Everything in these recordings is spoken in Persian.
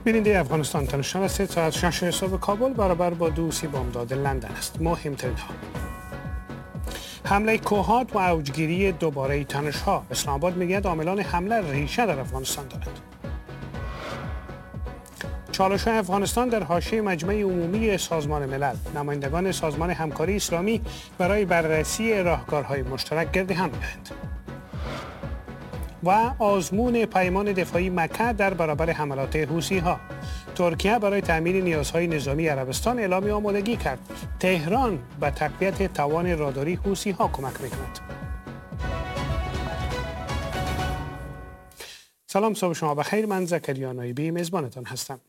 بیننده افغانستان تنشان است. ساعت 6 صبح کابل برابر با 2:30 بامداد لندن است. مهمترین ها: حمله کوهات و اوجگیری دوباره تنش ها. اسلام آباد میگوید عاملان حمله ریشه در افغانستان دارند. چالش های افغانستان در حاشیه مجمع عمومی سازمان ملل. نمایندگان سازمان همکاری اسلامی برای بررسی راهکارهای مشترک گرد هم می‌آیند. و آزمون پیمان دفاعی مکه در برابر حملات حوثی‌ها. ترکیه برای تامین نیازهای نظامی عربستان اعلام آمادگی کرد. تهران به تقویت توان راداری حوثی‌ها کمک می‌کند. سلام، صبح شما بخیر. من زکریا نایبی میزبانتان هستم.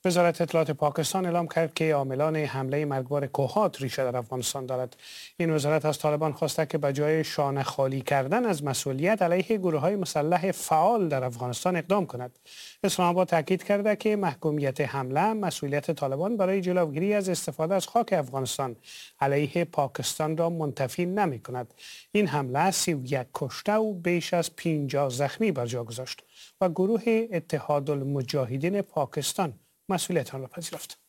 وزارت اطلاعات پاکستان اعلام کرد که عاملان حمله مرگبار کوهات ریشه در افغانستان دارد. این وزارت از طالبان خواسته که به جای شانه خالی کردن از مسئولیت علیه گروه‌های مسلح فعال در افغانستان اقدام کند. اسلام آباد تاکید کرده که محکومیت حمله مسئولیت طالبان برای جلوگیری از استفاده از خاک افغانستان علیه پاکستان را منتفی نمی‌کند. این حمله 31 کشته و بیش از 50 زخمی بر جا گذاشت و گروه اتحاد المجاهدین پاکستان مسئولیت آن را پذیرفت.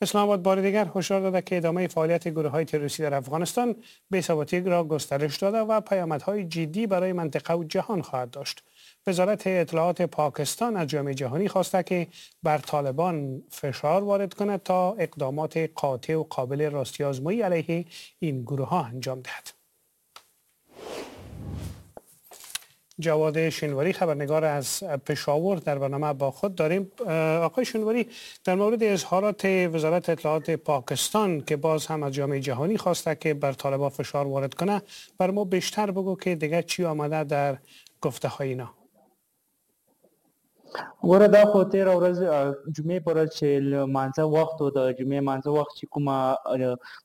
اسلام آباد بار دیگر هشدار داده که ادامه فعالیت گروه‌های تروریستی در افغانستان بی‌ثباتی را گسترش داده و پیامدهای جدی برای منطقه و جهان خواهد داشت. وزارت اطلاعات پاکستان از جامعه جهانی خواسته که بر طالبان فشار وارد کند تا اقدامات قاطع و قابل راستی آزمایی علیه این گروه‌ها انجام دهد. جواد شینواری خبرنگار از پشاور در برنامه با خود داریم. آقای شینواری، در مورد اظهارات وزارت اطلاعات پاکستان که باز هم از جامعه جهانی خواسته که بر طالبان فشار وارد کنه، بر ما بیشتر بگو که دیگه چی آمده در گفته های اینا. ګوره، دا خو تېره ورځ جمعې پر ورځ چې لمانځه وخت و، د جمعې لمانځه وخت چې کومه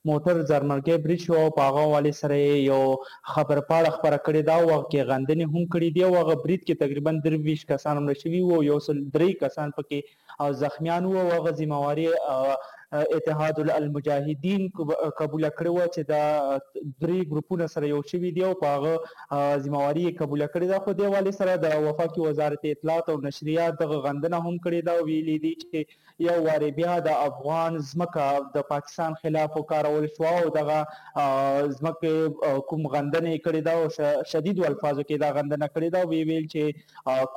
موټر ځارمرګی برید شو او په هغه حوالې سره یې یو خبرپاڼه خپره کړې ده او هغه کې غندنې هم کړې دي او هغه برید کې تقریبا 23 کسان مړه شوي وو، 103 کسان پکې زخمیان وو او هغه ذمهواري اتحاد المجاهدین قبوله کړې وه چې دا درې ګروپونه سره یو شوي دي او په هغه ذمهواري یې قبوله کړې ده. خو دې حوالې سره د وفاقي وزارت اطلاعات او نشریات دغه غندنه هم کړې ده او ویلي دي چې یو وارې بیا د افغان ځمکه د پاکستان خلاف وکارول شوه او دغه ځمکې کوم غندنه یې کړې ده او شدیدو الفاظو کې دا غندنه کړې ده او ویې ویل چې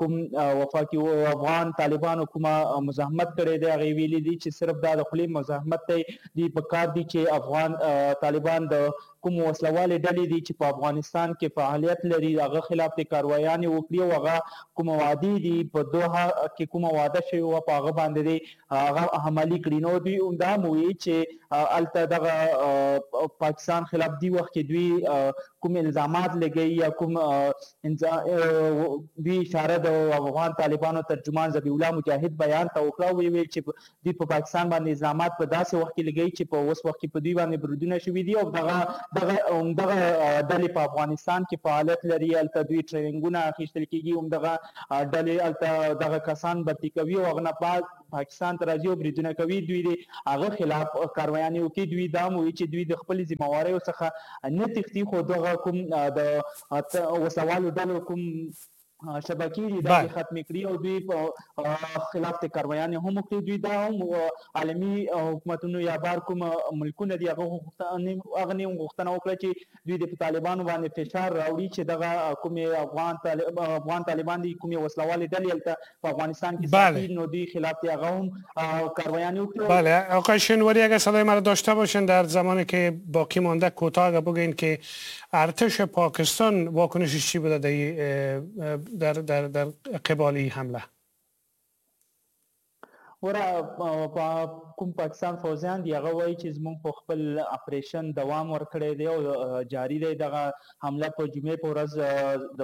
کوم وفاقي افغان طالبانو کومه مزاحمت کړی دی، هغې ویلي دي چې صرف دا د خولې مزاحمت دی، دوی په کار دي چې افغان طالبان د کوم وسلوالې ډلې دي چې په افغانستان کې فعالیت لري هغه خلاف دې کاروایانې وکړي او هغه کومه وعدې دي په دوحه کې کومه وعده شوې وه په هغه باندې دې هغه عملي کړي. نو دوی دا هم وویل چې هلته دغه پاکستان خلاف دی وخت کې دوی کوم الزامات لګوي یا کوم دوی اشاره د افغان طالبانو ترجمان ذبیح الله مجاهد بیان ته وکړه او ویې ویل چې دوی په پاکستان باندې الزامات په داسې وخت کې لګوي چې په اوس وخت کې په دوی باندې بریدونه شوي دي او دغه دغه دغه ډلې په افغانستان کې فعالیت لري، هلته دوی ټریننګونه اخیستل کېږي، همدغه ډلې هلته دغه کسان برتي کوي او هغه نه بعد پاکستان ته راځي او بریدونه کوي. دوی دې هغه خلاف کاروایانې وکړي. دوی دا هم وایي چې دوی د خپلې ذمهواریو څخه نه تښتي، خو دغه کوم د وسلوالو ډلو کوم شبکې دي دا ختمې کړي او دوی په خلاف ته کاروایانې هم وکړي. دوی دا هم عالمي حکومتونو یا بار کوم ملکونه دي هغه هغه نه هم غوښتنه وکړه چې دوی د طالبانو باندې فشار راوړي چې دغه کومې افغان طالبان دي کومې وسلوالې ډلې هلته په افغانستان کې ساتي نو دوی خلاف ته هغه هم کاروایانې وکړي. بله آقای شینواری، اگر صدای مرا داشته باشین در زمانی که باقی مانده کوتاه اگر بگین که ارتش پاکستان واکنشش چی بوده در در در قبال حمله؟ ګوره، کوم پاکستان فوځیان دي هغه وایي چې زموږ په خپل اپریشن دوام ورکړی دی او جاری دی. دغه حمله په جمعې په ورځ د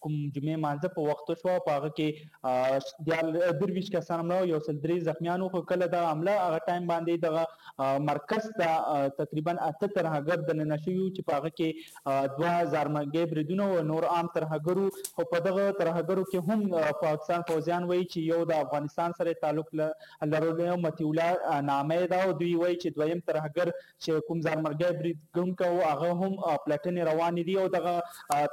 کوم جمعې مانځه په وخت شوه، په هغه کې 23 کسان مړه او 103 زخمیان وو. خو کله دغه حمله هغه ټایم باندې دغه مرکز ته تقریبا 8 ترهګر دننه شوي وو چې په هغه کې 2 ځارمرګي بریدونه او نور عام ترهګر وو. خو په دغه ترهګرو کې هم پاکستان فوځیان وایي چې یو د افغانستان سره تعلق لرلو مطیع الله نامه ده او دوی وایي چې دویم ترهګر چې کوم ځانمرګی برید کوونکی و هغه هم پلټنې روانې دي او دغه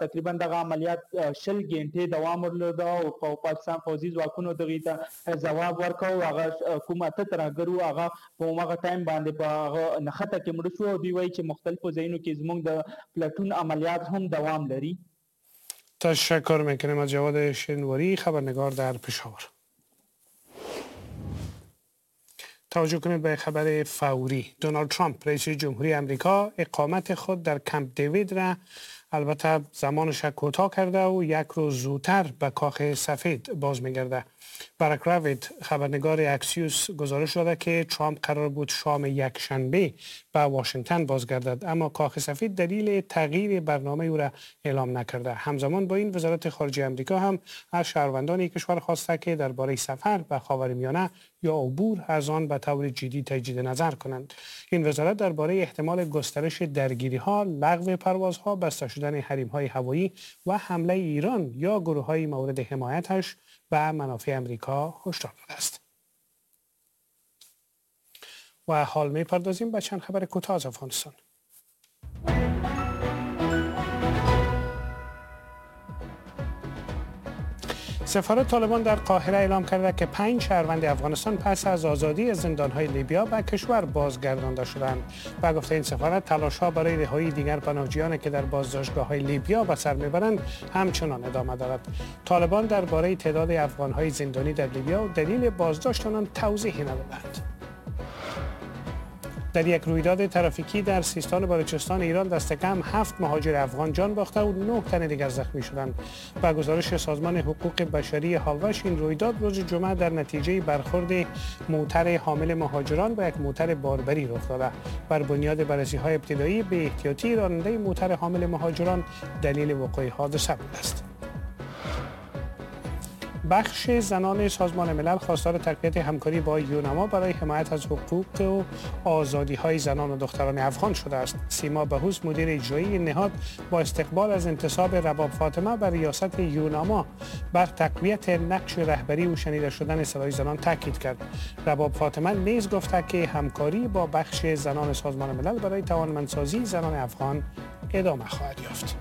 تقریبا دغه عملیات 20 ګنټې دوام درلود او پاکستان فوځي ځواکونو دغې ته ځواب ورکړ او هغه کوم 8 ترهګر وو هغه په هماغه ټایم باندې په هغه نښته کې مړه شو او دوی وایي چې مختلفو ځایونو کې زموږ د پلټون عملیات هم دوام لري. تشکر میکنیم از جواد شنواری، خبرنگار در پشاور. توجه کنید به خبر فوری. دونالد ترامپ رئیس جمهوری امریکا اقامت خود در کمپ دیوید را البته زمانش کوتاه کرده و یک روز زودتر به کاخ سفید باز می‌گرده. برک راوید خبرنگار اکسیوس گزارش داده که ترامپ قرار بود شام یک شنبه به واشنگتن بازگردد، اما کاخ سفید دلیل تغییر برنامه او را اعلام نکرده. همزمان با این وزارت خارجه امریکا هم از شهروندان کشور خواسته که درباره سفر به خاورمیانه یا عبور از آن به طور جدی تجدید نظر کنند. این وزارت درباره احتمال گسترش درگیری‌ها، لغو پروازها، بسته شدن حریم‌های هوایی و حمله ایران یا گروه‌های مورد حمایتش به منافع امریکا هشدار داده است. و حال می‌پردازیم به چند خبر کوتاه از افغانستان. سفارت طالبان در قاهره اعلام کرده که 5 شهروند افغانستان پس از آزادی زندان‌های لیبیا به کشور بازگردانده شدند. به گفته این سفارت تلاش‌ها برای رهایی دیگر پناهجویان که در بازداشتگاه‌های لیبیا به سر می‌برند همچنان ادامه دارد. طالبان درباره تعداد افغان‌های زندانی در لیبیا و دلیل بازداشت آنان توضیحی ندادند. در یک رویداد ترافیکی در سیستان و بلوچستان ایران دست کم 7 مهاجر افغان جان باخته و 9 تن دیگر زخمی شدند. با گزارش سازمان حقوق بشری هاوش این رویداد روز جمعه در نتیجه برخورد موتر حامل مهاجران با یک موتر باربری رخ داده. بر بنیاد بررسی‌های ابتدایی به احتیاطی راننده موتر حامل مهاجران دلیل وقوع حادثه بوده است. بخش زنان سازمان ملل خواستار تقویت همکاری با یوناما برای حمایت از حقوق و آزادی‌های زنان و دختران افغان شده است. سیما بهوس مدیر اجرایی نهاد با استقبال از انتصاب رباب فاطمه بر ریاست یوناما بر تقویت نقش رهبری و شنیده شدن صدای زنان تاکید کرد. رباب فاطمه نیز گفته که همکاری با بخش زنان سازمان ملل برای توانمندسازی زنان افغان ادامه خواهد یافت.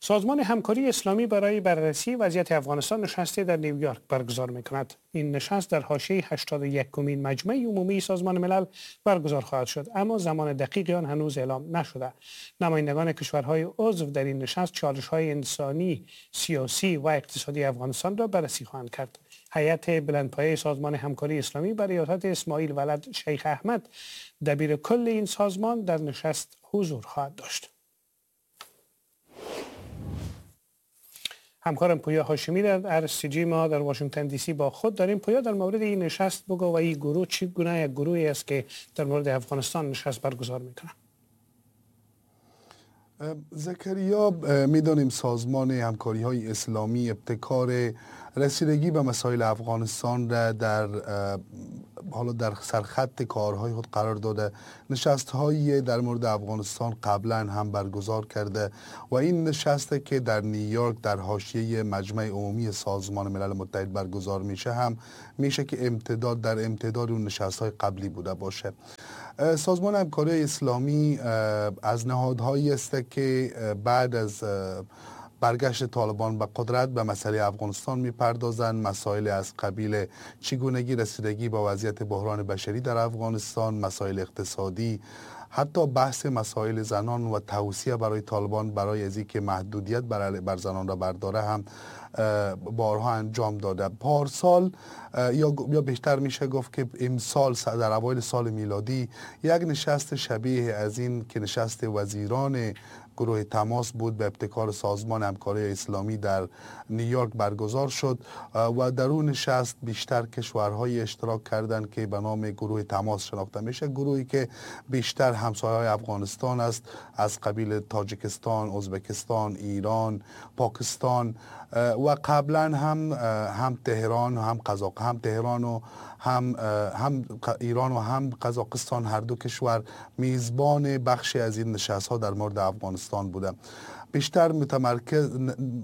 سازمان همکاری اسلامی برای بررسی وضعیت افغانستان نشستی در نیویورک برگزار می‌کند. این نشست در حاشیه 81مین مجمع عمومی سازمان ملل برگزار خواهد شد، اما زمان دقیق آن هنوز اعلام نشده. نمایندگان کشورهای عضو در این نشست چالش‌های انسانی، سیاسی و اقتصادی افغانستان را بررسی خواهند کرد. هیئت بلندپایه سازمان همکاری اسلامی بر ریاست اسماعیل ولد شیخ احمد دبیر کل این سازمان در نشست حضور خواهد داشت. همکارم پویا هاشمی در RCG ما در واشنگتن دی سی با خود داریم. پویا، در مورد این نشست بگو و این گروه چی گونه یک گروهی است که در مورد افغانستان نشست برگزار میکنه؟ زکریا، میدانیم سازمان همکاری های اسلامی ابتکار رسیدگی به مسائل افغانستان را در حالا در سرخط کارهای خود قرار داده. نشست های در مورد افغانستان قبلا هم برگزار کرده و این نشست که در نیویورک در حاشیه مجمع عمومی سازمان ملل متحد برگزار میشه هم میشه که امتداد در امتداد اون نشست های قبلی بوده باشه. سازمان همکاری اسلامی از نهادهایی است که بعد از برگشت طالبان به قدرت به مسئله افغانستان میپردازند، مسائل از قبیل چگونگی رسیدگی به وضعیت بحران بشری در افغانستان، مسائل اقتصادی، حتی بحث مسائل زنان و توصیه برای طالبان برای از اینکه محدودیت بر زنان را برداره هم بارها انجام داده. پارسال یا بیشتر میشه گفت که امسال در اوایل سال میلادی یک نشست شبیه از این که نشست وزیران گروه تماس بود به ابتکار سازمان همکاری اسلامی در نیویورک برگزار شد و در اون نشست بیشتر کشورهای اشتراک کردند که به نام گروه تماس شناخته میشه، گروهی که بیشتر همسایه‌های افغانستان است از قبیل تاجیکستان، ازبکستان، ایران، پاکستان و قبلا هم تهران هم قزاق، هم تهران و هم ایران و هم قزاقستان، هر دو کشور میزبان بخشی از این نشست ها در مورد افغانستان بوده. بیشتر متمرکز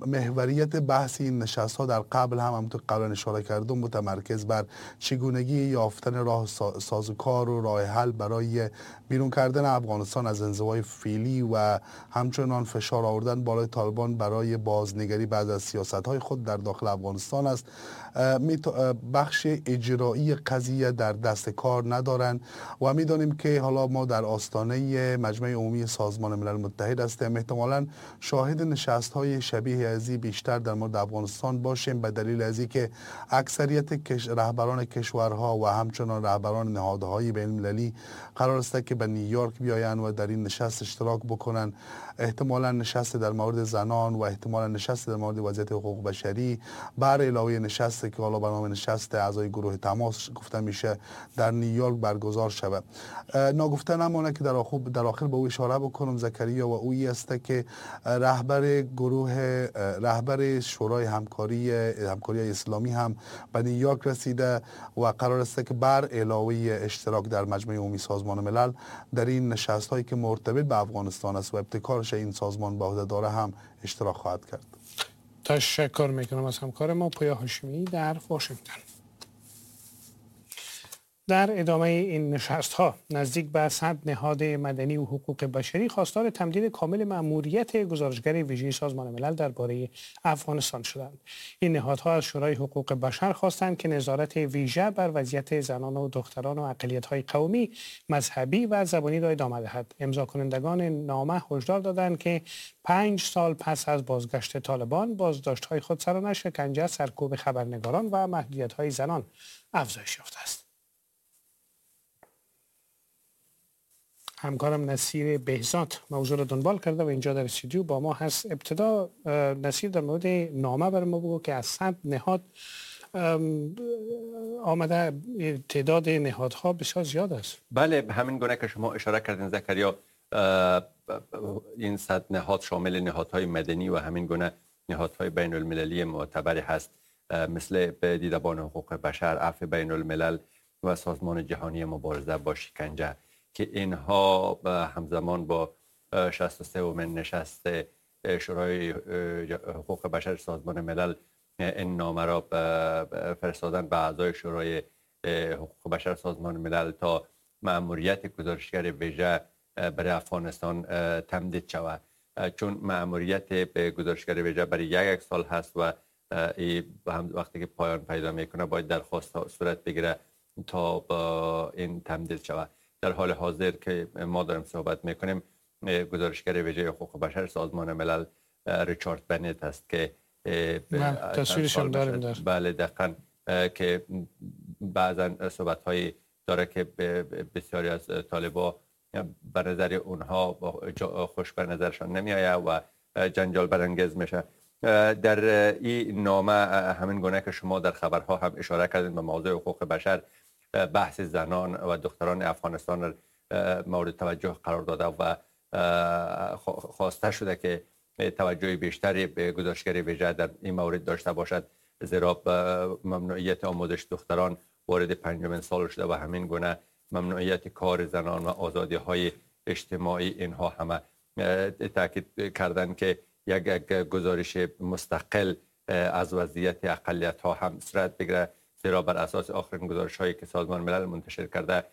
محوریت بحث این نشست ها در قبل هم همونطور قبلا اشاره کردم متمرکز بر چگونگی یافتن راه سازوکار و راه حل برای بیرون کردن افغانستان از انزوای فعلی و همچنان فشار آوردن بالای طالبان برای بازنگری بعض از سیاست های خود در داخل افغانستان است. بخش اجرایی قضیه در دست کار ندارند و میدانیم که حالا ما در آستانه مجمع عمومی سازمان ملل متحد هستیم، احتمالاً شاهد نشست های شبیه ازی بیشتر در مورد افغانستان باشیم، به دلیل ازی که اکثریت رهبران کشورها و همچنان رهبران نهادهای بین المللی قرار است که به نیویورک بیایند و در این نشست اشتراک بکنند. احتمالاً نشست در مورد زنان و احتمالاً نشست در مورد وضعیت حقوق بشری، بر علاوه نشست که حالا به نام نشست اعضای گروه تماس گفته میشه در نیویورک برگزار شود. ناگفته نمانه که در آخر به او اشاره بکنم زکریا، و اویی است که رهبر شورای همکاری اسلامی هم به نیویورک رسیده و قرار است که بر علاوه اشتراک در مجمع عمومی سازمان ملل در این نشست هایی که مرتبط به افغانستان است و ابتکارش این سازمان به عهده داره هم اشتراک خواهد کرد. تشکر میکنم از همکار ما پویا هاشمی در واشنگتن. در ادامه این نشست ها نزدیک به 100 نهاد مدنی و حقوق بشری خواستار تمدید کامل مأموریت گزارشگر ویژه سازمان ملل درباره افغانستان شدند. این نهادها از شورای حقوق بشر خواستند که نظارت ویژه بر وضعیت زنان و دختران و اقلیت‌های قومی، مذهبی و زبانی را ادامه دهد. امضا کنندگان نامه هشدار دادند که 5 سال پس از بازگشت طالبان بازداشت‌های خودسرانه، شکنجه، سرکوب خبرنگاران و محدودیت‌های زنان افزایش یافته است. همکارم نصیر بهزاد موضوع را دنبال کرده و اینجا در استودیو با ما هست. ابتدا نصیر در مورد نامه برای ما بگو که از 100 نهاد آمده، تعداد نهادها بسیار زیاد است. بله، همین گونه که شما اشاره کردین زکریا، این 100 نهاد شامل نهادهای مدنی و همین گونه نهادهای بین المللی معتبر هست، مثل دیدبان حقوق بشر، عفو بین الملل و سازمان جهانی مبارزه با شکنجه، که اینها همزمان با 63مین نشست شورای حقوق بشر سازمان ملل این نامه را فرستادن به اعضای شورای حقوق بشر سازمان ملل تا مأموریت گزارشگر ویژه برای افغانستان تمدید شود. چون مأموریت گزارشگر ویژه برای یک سال هست و وقتی که پایان پیدا میکنه باید درخواست صورت بگیره تا این تمدید شود. در حال حاضر که ما داریم صحبت میکنیم گزارشگر ویژه حقوق بشر سازمان ملل ریچارد بنت است که تصویرش هم داریم در. بله دقیقاً، که بعضا صحبت هایی داره که بسیاری از طالبا به نظر اونها خوش به نظرشان نمی آید و جنجال برانگیز میشه. در این نامه همین گونه که شما در خبرها هم اشاره کردین به موضوع حقوق بشر، بحث زنان و دختران افغانستان مورد توجه قرار داده و خواسته شده که توجه بیشتری به گزارشگر ویژه در این مورد داشته باشد، زیرا ممنوعیت آموزش دختران وارد 5 سال شده و همین گونه ممنوعیت کار زنان و آزادی های اجتماعی، اینها همه تاکید کردن که یک گزارش مستقل از وضعیت اقلیت ها هم صورت بگیره، زیرا بر اساس آخرین گزارش هایی که سازمان ملل منتشر کرده